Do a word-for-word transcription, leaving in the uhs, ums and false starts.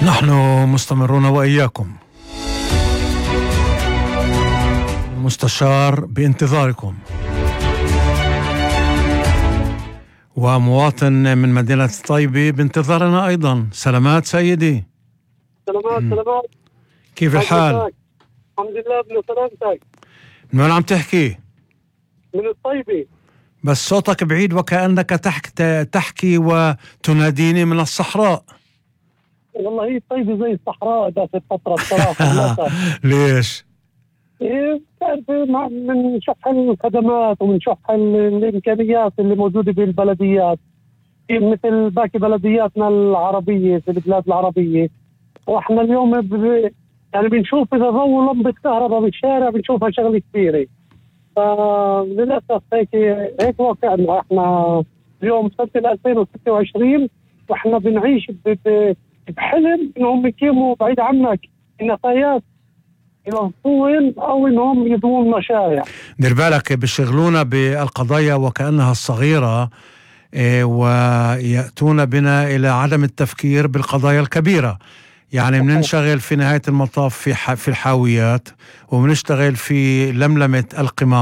نحن مستمرون وإياكم، مستشار بانتظاركم، ومواطن من مدينة طيبة بانتظارنا أيضا. سلامات سيدي. سلامات سلامات. كيف الحال؟ الحمد لله ابن سلامتك. من وين عم تحكي؟ من الطيبة. بس صوتك بعيد وكأنك تحكي, تحكي وتناديني من الصحراء. والله هي الطيبة زي الصحراء ذات الفترة بصراحة. ليش؟ إيه بتعرف من شح الخدمات ومن شح الإمكانيات اللي موجودة بالبلديات، مثل باقي بلدياتنا العربية في البلاد العربية. وإحنا اليوم ب... يعني بنشوف إذا ضوء لمبة كهرباء بالشارع بنشوفها شغلة كبيرة. فللأسف هيك هيك واقعنا. إحنا اليوم سنة ألفين وستة وعشرين وإحنا بنعيش ب... ب... بحلم إنهم يقيموا بعيد عنك النفايات يوصون أو إنهم يضمون مشاريع. دير بالك بيشغلونا بالقضايا وكأنها الصغيرة، إيه، ويأتون بنا إلى عدم التفكير بالقضايا الكبيرة. يعني بننشغل في نهاية المطاف في في الحاويات، وبنشتغل في لملمة القمامة.